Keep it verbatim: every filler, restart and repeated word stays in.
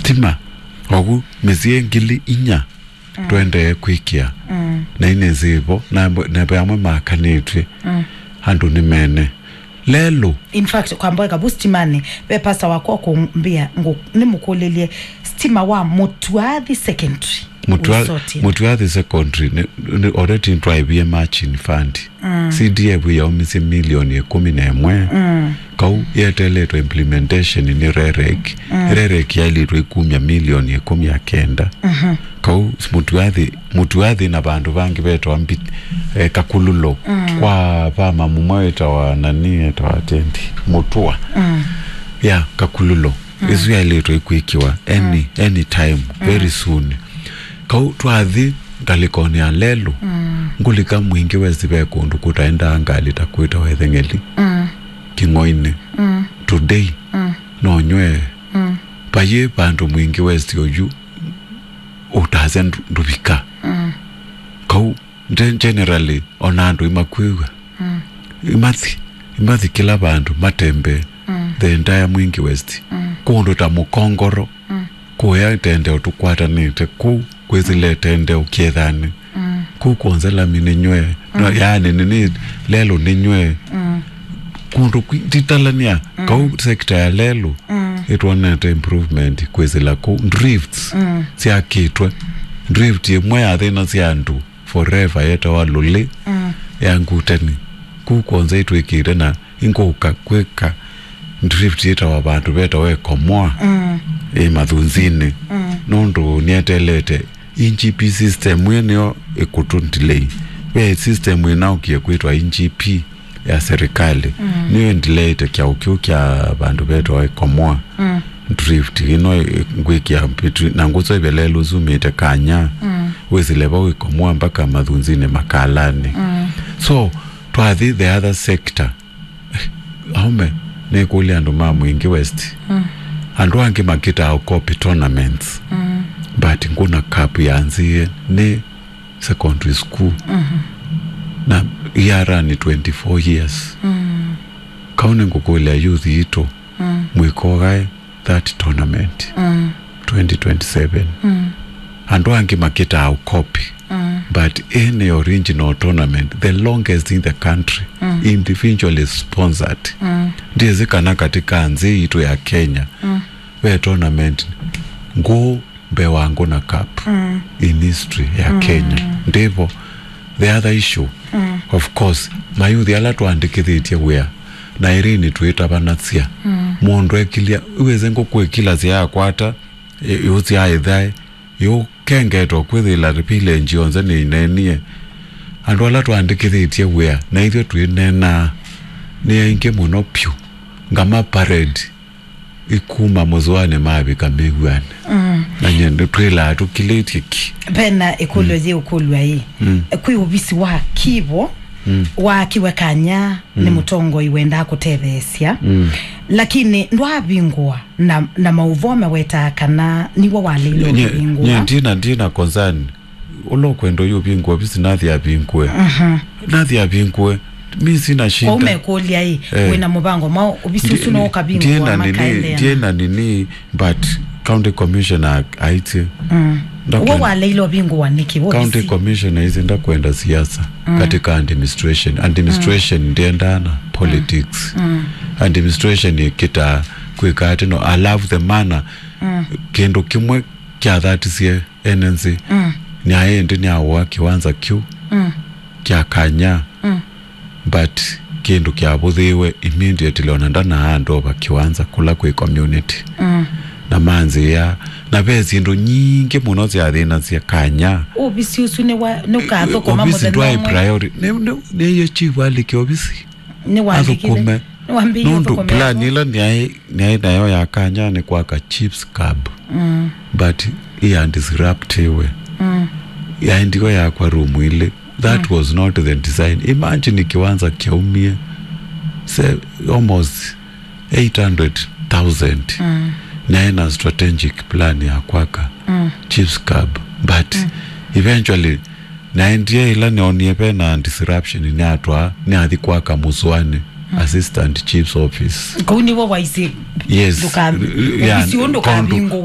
stima, ogu mĩsyĩ ngili inya, mm, twendee kwĩkĩa. Mm. Na inĩ nzĩvo, na, na ve amwe makanĩtw'e. Mm. Andũ nĩ mene. Lelũ. In fact, kwamba eka vu stimanĩ, ve pastor wakwa kũmbĩa, ngũ-, nĩmũkũlĩlye, stima wa Mũtuathi Secondary. Mũtua-, ũisotie. Mũtuathi Secondary, nĩ, nĩ already nĩtwaĩvie matching fund. Mm. C D F yaumisye milioni ĩkũmi na ĩmwe. Mm. Kau yeteletwe implementation nĩ REREC. Mm. REREC yailĩtwe ĩkumya milioni ĩkũmi na kenda. Mhm. Kau Mũtuathi, Mũtuathi na vandũ vangĩ vetawa Mbi-, eh, Kakululo. Mm. Kwa vama mũmwe wĩtawa nani, etawa Tendi. Mũtua. Mm. Ya, Kakululo. Mm. Ĩsu yailĩtwe ĩkwĩkĩwa any, mm, any time, mm, very soon. Kau twathi ngalĩkonĩ ya lelũ, mm, ngũlika Mwingi West ve kũndũ kũtaendaa ngalĩ ta kwĩtawa Etheng'eli, mm, Kĩng'oinĩ. Mm. Today, mm, no nyw'e. Mm. Vayĩ vandũ Mwingi West oyu ũtasya ndu-, ndũvika. Mm. Kau nde-, generally, ona andũ imakwĩw'a. Mm. Imathi, imathi kĩla vandũ, matembee. Mm. The entire Mwingi West. Mm. Kũndũ ta Mũkongoro, mm, kũya ĩtendeo tũkwatanĩte kũu, kwĩsĩle ĩtendeo kĩethanĩ. Mm. Kũu kwonze lami nĩ nyw'e. No, mm, yaani, nĩ, nĩ, lelũ nĩ nyw'e. Mm. Kũndũ kwĩ-, nditalania, mm, kau sector ya lelũ, mm, ĩtwonete improvement kwĩsĩla kũu. Drifts, mm, syakĩtwe. Drift ĩmwe ya thĩna sya andũ forever yetawa Lũlĩ, mm, ya Nguteni. Kuu kwonza itwĩkĩte na ingũka kwĩka drift yĩtawa vandũ vetawa Ĩkomoa, mm, ĩ Mathunzinĩ. Mm. Nũndũ nĩetelete E G P system ĩyo ĩkũtũ delay. Ve system ĩnaũkie kwĩtwa E G P ya serikali. Mm. Nĩyo ĩndileĩte kyaũ kĩu kya vandũ vetawa Ĩkomoa. Mm. Drift ĩno ĩ-, ngwĩkĩa between, na ngũsũvĩa lelũ sumĩte Kanya. Mm. Wĩsĩle vau Ĩkomoa mpaka Mathunzinĩ Makalani. Mm. So, twathi the other sector. Aume, nĩkũlya andũ ma Mwingi West. Mm. Andũ angĩ makĩtaa ũkopi tournaments. Mm. But Ngũna Cup yanzĩe nĩ secondary school. Mhm. Na yara nĩ twenty-four years. Mm. Kau nĩngũkũlya youth yitũ, mm, mwĩkogae that tournament, mm, twenty twenty-seven. Mm. Andũ angĩ makĩtaa ũkopi. Mm. But any original tournament, the longest in the country, mm, individually sponsored. Mm. Ndiĩsĩ kana katika nthĩ yitũ ya Kenya, mm, ve tournament ngũũ mbee wa Ngũna Cup, mm, in history ya, mm, Kenya. Ndĩvo, the other issue, mm, of course, mayuthi ala twaandĩkĩthĩtye wĩa na Irene twĩtavanasya, mm, mũndũ ekilya, wĩsĩ ngũkũ ĩkilasya yakwata, ĩ-, yũsya ĩthae, yũkengetwa kwĩthĩla village yonthe nĩinenie. Andũ ala twaandĩkĩthĩtye wĩa na ithyĩ twĩneenaa nĩ aingĩ mũno pyũ. Ngama parade ikuma mũzũanĩ mavika mĩw'anĩ. Mm. Na nyie nĩtwĩlaa tũkilĩtye ki. Vena ĩkũlyo, mm, yĩũkũlw'a ĩ. Mm. Kwĩ ũvisi wa kĩvo, mm, waakiwe Kanya nĩ, mm, mũtongoi wendaa kũtetheesya. Mm. Lakini ndwavingũa na, na maũvoo mawetaa kana nĩw'o waleile, nye-, ũkĩvingũa. Nye ndina, ndina concern. Ũla ũkwenda ũyũvingũa ovisi nathi avingũe. Mhm. Nathi avingũe. Mi sina shida. Kwa umekũlya ĩ, eh, wĩna mũvango mwa ovisi ũsu no ũkavingũa ndiena nini, makaendeana? Ndiena nini, but county commissioner aitye. Mm. Ndakwenda. Uwe waleile ũvingũa nĩkĩ, wo county ovisi? Commissioner aitye ndakwenda siasa, mm, katika administration. Administration, mm, ndiendana politics. Mm. Administration ĩkĩtaa kwĩka atĩ no, I love the manner, mm, kĩndũ kĩmwe kyathatisye ene nzĩ. Mm. Nĩaĩ ĩndĩ nĩaũa kĩwanza kĩu, mm, kya Kanya. Mm. But kĩndũ kyavũthĩĩwe immediately, ona ndanaa andova kĩwanza kũla kwĩ community. Mm. Na manzĩa, na ve syĩndũ nyingĩ mũno syathĩnasya Kanya. Ũvisi ũsu nĩ wa, nũkathũkũma, ovisi mũthenya ndwaĩ ũmwe? Priority. Nĩ, nĩ, nĩye chief alike ovisi. Nĩwandĩkĩte? Athũkũme. Nĩwambĩĩe. Nũndũ ũthũkũme plan ĩla nĩaĩ, nĩaĩ nayo ya Kanya nĩ kwaka Chiefs Cup. Mm. But ĩya disruptiwe. Mm. Yaendiwe yakwa room ilĩ. That, mm, was not the design. Imagine kĩwanza kyaumie, say, almost eight hundred thousand. Mm. Naĩ na strategic plan ya kwaka, mm, Chiefs Cup. But, mm, eventually, naendie ĩla nĩonie vena disruption, nĩatwaa, nĩathi kwaka Mũsũanĩ, mm, Assistant Chief's Office. Kũu nĩw'o waisye, yes, ndũka-, r-, r-, ovisi ũũ ndũkavingũe.